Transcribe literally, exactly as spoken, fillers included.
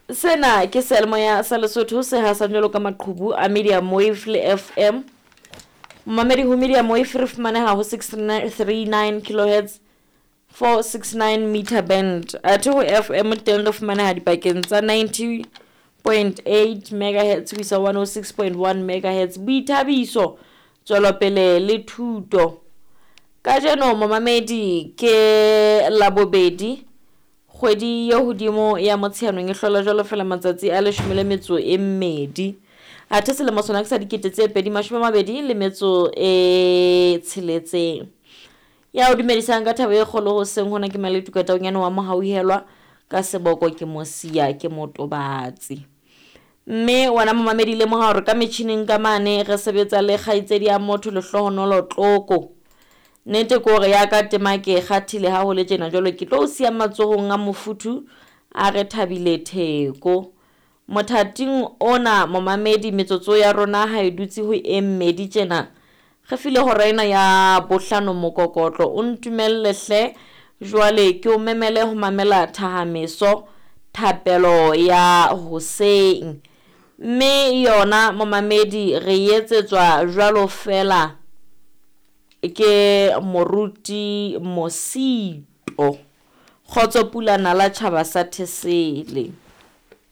Sena ke seyalemoya sa Lesotho se hasang jwalo ka maqhubu a Medium Wave le F M. Momamedi ho Medium Wave re fumaneha ho six three nine kilohertz four six nine meter band. Athe ho F M teng re fumaneha dipakeng tsa ninety point eight megahertz ho isa one oh six point one megahertz. Boithabiso, tswelopele le thuto. Kajeno momamedi ke Labobedi, kgwedi ye hodimo ya Motsheanong e hlola jwalo fela matsatsi a leshome le metso e mmedi. Athe selemo sona ke sa dikete tse pedi mashome a mabedi le metso e tsheletseng. Ya o dumedisang ka thabo e kgolo hoseng hona ke Maletuka Taunyane wa Mohauhelwa, ka seboko ke Mosia ke Motobatsi. Mme wena momamedi lemoha hore ka metjhining ka mane re sebetsa le kgaitsedi ya motho Lehlohonolo Tloko. Nnete ke hore ya ka tema ke e kgathile ha ho le tjena, jwalo ke tlo o siya matsohong a mofuthu a re Thabile Theko. Mothating ona momamedi metsotso ya rona ha e dutse ho e mmedi tjena, re file hora ena ya bohlano mokokotlo. O ntumelle hle jwale ke o memele ho mamela Thahameso, thapelo ya hoseng. Mme yona momamedi re etsetswa jwalo fela ke moruti Mosito. Kgotso Pula Nala tjhaba sa Thesele.